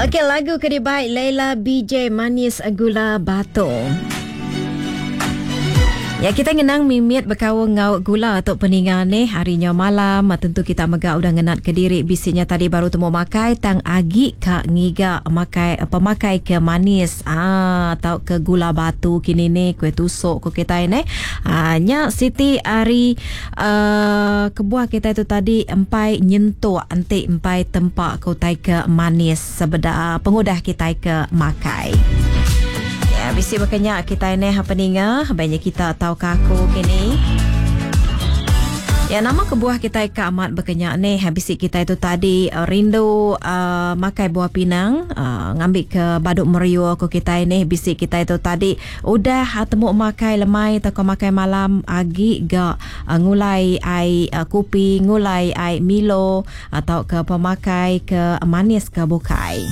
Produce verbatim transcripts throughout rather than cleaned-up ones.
Okey, lagu ke dibai Leila B J, Manis Gula Batu. Ya, kita ngenang mimit berkaul ngau gula atau peningan ni harinya malam. Tentu kita mega udah ngenat ke diri bisinya tadi baru temu makai tang agi ka ngiga makai pemakai ke manis ah atau ke gula batu kini ni kuih tusuk ko kita ni. Ah nya Siti ari uh, kebuah kita itu tadi empai nyentuk anti empai tempak ke utai ke manis sebeda pengudah kita ke makai. Ya, bisi berkenyak kita ni apa ninga banyak kita tahu kaku kini. Ya, nama kebuah kita ke amat berkenyak ni habis kita itu tadi uh, rindu uh, makai buah pinang uh, ngambil ke baduk meriu ko kita ni bisi kita itu tadi udah uh, temuk makai lemai atau makai malam agi ga uh, ngulai ai uh, kopi ngulai ai Milo atau ke pemakai ke manis ke bukai.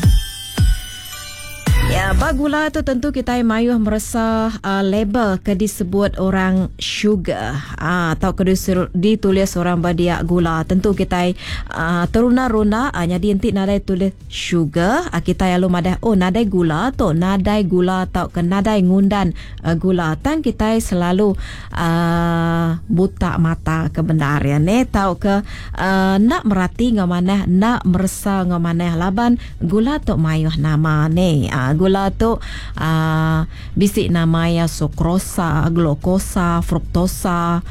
Ya, bab gula tu tentu kita mayuh merasa uh, label ke disebut orang sugar ah, atau ke ditulis orang berdiak gula. Tentu kita uh, teruna-runa uh, jadi nanti nadai tulis sugar, uh, kita lalu madah oh nadai gula tu, nadai gula atau ke nadai ngundan uh, gula. Tang kita selalu uh, buta mata kebenaran ne tau ke uh, nak merati ngau manah, nak meresa ngau manah laban gula tu mayuh nama ne. Uh, gula tu uh, bisik nama ya sukrosa, glukosa, fruktosa,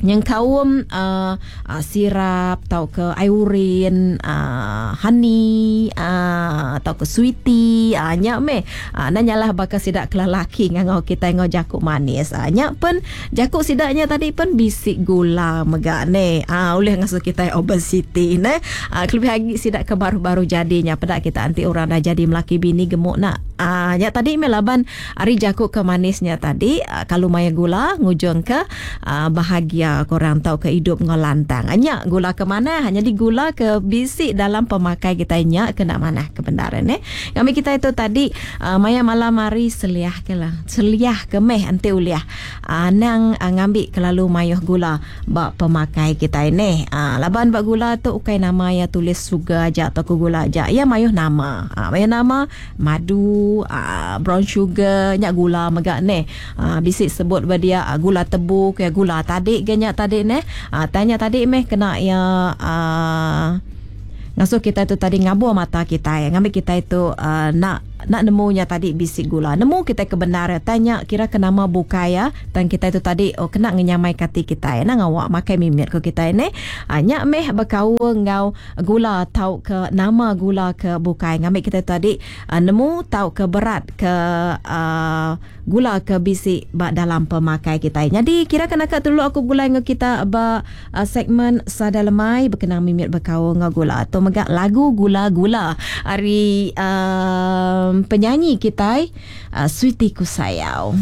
yang kaum uh, uh, sirap atau ke urin, uh, honey uh, atau ke sweetie uh, nyak meh uh, nanyalah bakal sidak kelalaki ngangau kita ngau jakuk manis uh, nyak pen jakuk sidaknya tadi pen bisik gula megak ne uh, oleh ngasuh kita obesity ne uh, lebih lagi sidak ke baru-baru jadinya pedak kita anti orang dah jadi melaki bini gemuk nak uh, nyak tadi meh laban ari jakuk ke manisnya tadi uh, kalau maya gula ngujung ke uh, bahagia korang tahu ke hidup ngolantang. Hanya gula ke mana? Hanya di gula ke bisik dalam pemakai kita nya kena mana kebenaran eh. Kami kita itu tadi uh, maya malam hari seliah ke lah. Seliah ke meh anti uliah. Uh, nang uh, ngambil kelalu mayuh gula bak pemakai kita ini. Uh, laban bak gula tu ukai nama ya tulis sugar aja atau gula aja. Ya mayuh nama. Uh, mayuh nama madu, uh, brown sugar, nyak gula megak ne. Uh, bisik sebut ba dia uh, gula tebu ke gula tadi ke nya tadi ne. Ah, tanya tadi meh kena ya uh, ngasuh kita itu tadi ngabur mata kita ya. Ngambil kita itu uh, nak nak nemunya tadi bisik gula. Nemu kita kebenaran tanya kira ke nama bukai ya. Dan kita itu tadi oh kena ngenyamai kati kita ya. Nak ngawak makai mimit ko kita ini. Ah, nyak meh berkaul ngau gula tau ke nama gula ke bukai. Ngambil kita tadi uh, nemu tau ke berat ke uh, gula ke bisik bak dalam pemakai kita. Jadi kira kena kat dulu aku gulai ngau kita ba uh, segmen Sada Lemai berkenang mimit berkaul ngau gula. Atau megak lagu gula-gula hari uh, penyanyi kita uh, Sweety Kusayau.